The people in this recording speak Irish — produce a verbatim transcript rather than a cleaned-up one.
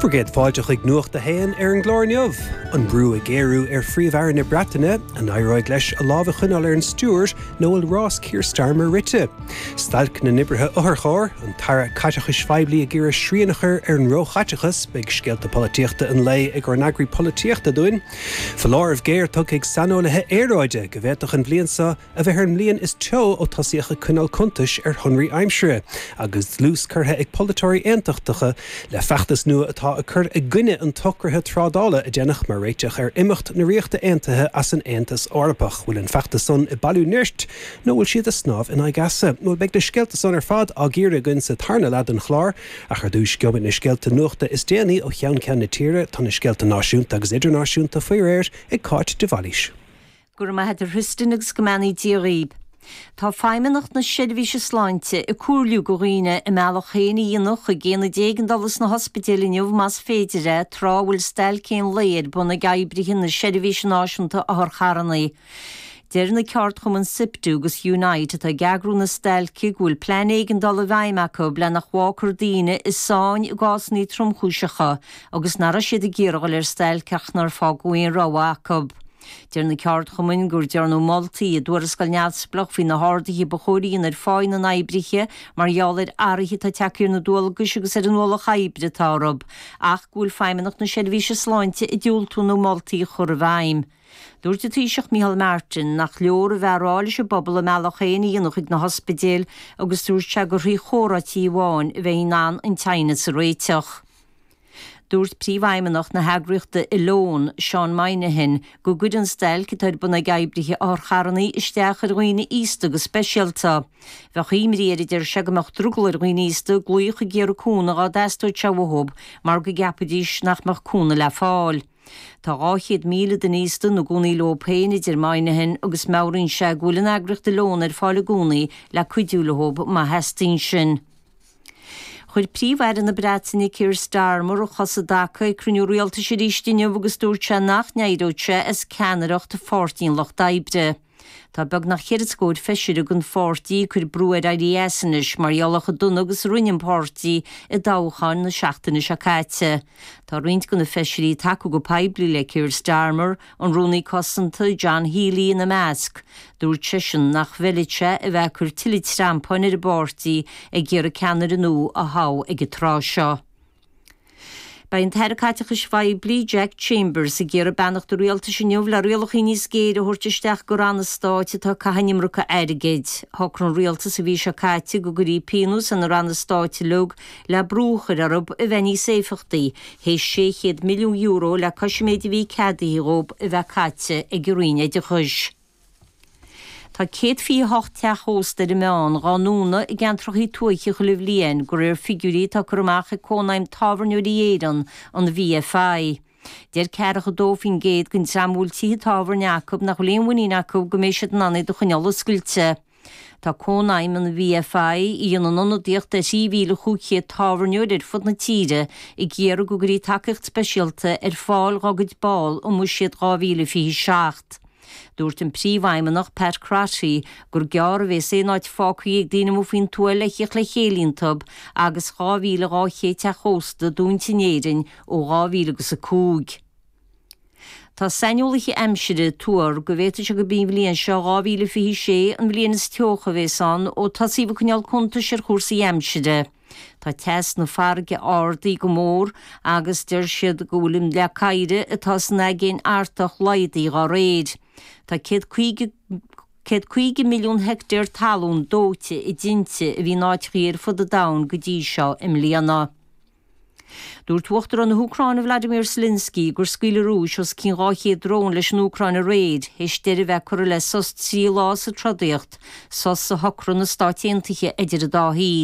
Bhur gcéad fáilte chuig Nuacht a hAon ar an gclár inniu. An brú ag géarú ar Phríomh-Aire na Breataine an éireoidh leis a lámh a choinneáil ar an stiúir nó bhfuil rás Keir Starmer rite. Stailc na n-oibrithe otharcharr, an tAire Caiteachais Phoiblí ag iarraidh srian a chur ar an róchaiteachas, beidh scéalta polaitíochta an lae ag ár n-eagraí polaitíochta dúinn. Foláireamh géar tugtha ag saineolaithe aeráide go bhféadfadh an bhliain seo a bheith ar an mbliain is teo ó tosaíodh ag coinneáil cuntais ar shonraí aimsire, agus dlús curtha ag polaiteoirí aontachtacha le feachtas nua atá ag cur i gcoinne an tsocraithe trádála a déanadh mar réiteach ar imeacht na Ríochta Aontaithe as an Aontas Eorpach. Bhfuil an feachtas san ag bailiú nirt nó bhfuil siad ag snámh in aghaidh easa. Nó beidh na scéalta san ar fad á gcíoradh againn sa tarna leath den chlár ach ar dtús gheobhaidh na scéalta nuachta is déanaí ó cheann ceann na tíre tá na scéalta náisiúnta agus idirnáisiúnta faoi réir ag Cáit de Bhailís. Go raibh maith agat a Thristan agus go mbeannaí Dia dhaoib. Tá Feidhmeannacht na Seirbhíse Sláinte ag comhairliú do dhaoine a mbealach féin a dhéanamh chuig aonaid éigeandála sna hospidéil inniu más féidir é tráth a bhfuil stailc aon lae ar bun ag oibrithe na Seirbhíse Náisiúnta Otharcharranna. Deir na ceardchumainn SIPTU agus Unite atá ag eagrú na stailce go bhfuil plean éigeandála i bhfeidhm acu le nach bhfágfar daoine i sáinn i gcásanna tromchúiseacha agus nach raibh siad ag iarraidh dul ar stailc ach nár fágadh aon rogha acu. Deir na ceardchumainn gur dearnadh moltaí i dtuarascáil neamhspleách faoi na harduithe ba chóir a dhéanamh ar pháí na n-oibrithe mar gheall ar athruithe atá tagtha ar na dualgais agus ar an ualach oibre atá orthu, ach go bhfuil Feidhmeannacht na Seirbhíse Sláinte ag diúltú na moltaí a chur i bhfeidhm. Dúirt an Taoiseach Micheál Martin nach leor a bheith ag rá leis an bpobal a mbealach féin a dhéanamh chuig na hospidéil agus dúirt sé gur thrí chomhráití amháin a bheidh in ann an teannas a réiteach. Dúirt príomhfheidhmeannach na heagraíochta Oileán, Seán Moynihan, go gcuireann stailc atá ar bun ag oibrithe otharcharranna isteach ar dhaoine aosta go speisialta. Bheadh imní air a deir sé go mbeadh drogall ar dhaoine aosta glaoch ag iarraidh cúnamh dá dteastódh sé uathu mar go gceapfaidís nach mbeadh cúnamh le fáil. Tá dhá chéad míle duine aosta ina gcónaí leo féin, a deir Moynihan, agus meabhraíonn sé go bhfuil an eagraíocht Oileán ar fáil i gcónaí le cuidiú leo má theastaíonn sin. Chuir Príomh-Aire na Breataine Keir Starmer a chos i dtaca ag cruinniú rialtais arís inniu agus dúirt sé nach n-éireodh sé as ceannaireacht Pháirtí an Lucht Oibre. Tá beagnach ceithre scór feisire den pháirtí ag cur brú air éirí as anois mar gheall ar chomh dona agus a rinne an páirtí i dtoghcháin na seachtaine seo caite. Tá roinnt de na feisirí ag tacú go poiblí le Keir Starmer, an Rúnaí Cosanta John Healey ina measc. Dúirt seisean nach bhfeilfeadh sé a bheith ag cur tuilleadh treampáin ar an bpáirtí ag iarraidh ceannaire nua a thoghadh ag an tráth seo. Beidh an tAire Caiteachais Phoiblí Jack Chambers ag iarraidh beannacht an rialtais inniu le rialacha níos géire a thabhairt isteach do ranna stáit atá ag caitheamh an iomarca airgid. Shocraigh an rialtas an mhí seo caite go gcuirfí pionós ar na ranna stáit uilig le brú a chur orthu a bheith níos éifeachtaí, théis sé chéad milliún euro le cois an méid a bhí ceadaithe dhóibh a bheith caite ag an Roinn Oideachais. Tá céad fiche hocht teach ósta ar an meán dhá ndúnadh i gceantracha tuaithe chuile bhliain, de réir figiúirí atá curtha amach ag Cónaidhm Tábhairneoirí Éireann, an VFI. Deir ceathracha dó faoin gcéad den dream a bhfuil tithe tábhairne acu nach bhfuil aon mhuinín acu go mbeidh siad in ann iad a choinneáil oscailte. Tá Cónaidhm an VFI, a dhéanann ionadaíocht ar thrí mhíle chúig chéad tábhairneoir ar fud na tíre, ag iarraidh go gcuirfí tacaíocht speisialta ar fáil dhá gcuid ball i mBuiséad dhá mhíle fiche seacht. Dúirt an príomhfheidhmeannach Pat Crotty gur gearr a bheas aon áit fágtha ag daoine amuigh faoin tuath le theacht le chéile iontu agus dhá mhíle dhá chéad teach ósta dúnta in Éirinn ó dhá mhíle agus a cúig. Tá saineolaithe aimsire ag tuar go bhféadfadh sé gurb í an bhliain seo dhá mhíle fiche sé an bhliain is teocha a bheas ann ó tosaíodh ag coinneáil cuntais ar chúrsaí aimsire. Tá teas na farraige ardaithe go mór agus deir siad go bhfuil an leac oighir atá san Aigéan Artach laghdaithe dá réir. Tá céad caoga céad caoga milliún heicteár talún dóite i dtinte a bhí in áiteachaí ar fud an domhain go dtí seo i mbliana. Dúirt Uachtarán na hÚcráine Vladimir Zelensky gur scaoil an Rúis os cionn dhá chéad drón leis an Úcráin aréir, théis deireadh a bheith curtha le sos trí lá sa trodaíocht, sos a shocraigh na Stáit Aontaithe idir an dá thaobh.